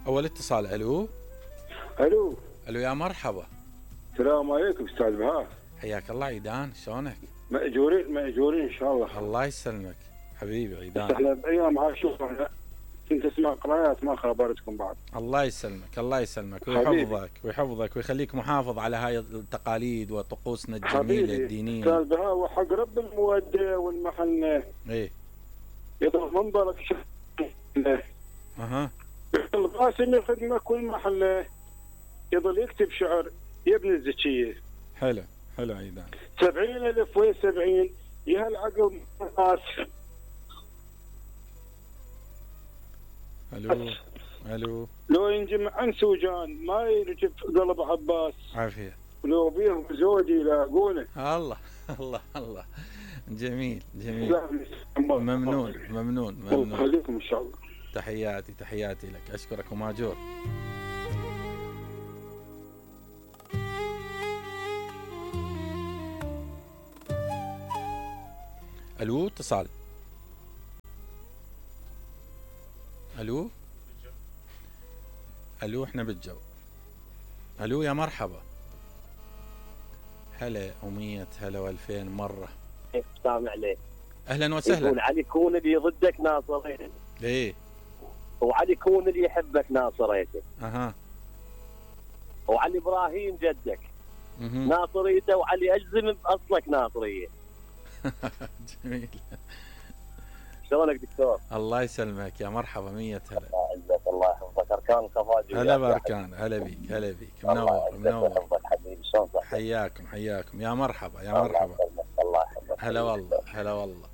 اول اتصال. الو الو الو يا مرحبا. السلام عليكم استاذ بهاء. حياك الله عيدان، شلونك؟ ماجورين ان شاء الله. الله يسلمك حبيبي عيدان. احنا بايام عاشور كنت اسمع قراءات ما خبرتكم بعد. الله يسلمك الله يسلمك ويحفظك ويخليك محافظ على هاي التقاليد وطقوسنا الجميله الدينيه. استاذ بهاء وحق رب المودة والمحنة. ايه يضرب منظرك اها. القاسم الخدمه كل محله يظل يكتب شعر يا ابن الزكيه. حلو عيدان. 70,000 وين 70 يا هالعقل ناس. الو لو ينجمع عن سوجان ما يرجف قلب عباس. عافيه. ولو بيهم زوجي يلاقونه. الله جميل. ممنون. خليكم ان شاء الله. تحياتي لك، اشكرك وماجور. الو اتصال. الو احنا بالجو. الو يا مرحبا. هلا ومية هلا والفين مرة. سامع عليه. اهلا وسهلا. يقول علي كون اللي ضدك ناصريته. ليه؟ وعلي كون اللي يحبك ناصريته. اها. وعلي ابراهيم جدك ناصريته، وعلي اجزم باصلك ناصريه. جميل. شلونك دكتور؟ الله يسلمك يا مرحبا. 100 هلا. الله يعزك الله يحفظك. اركان الخفاجي. هلا باركان. هلا بيك منور. حبيبي شلون صحتك؟ حياكم يا مرحبا الله يحفظك. هلا والله.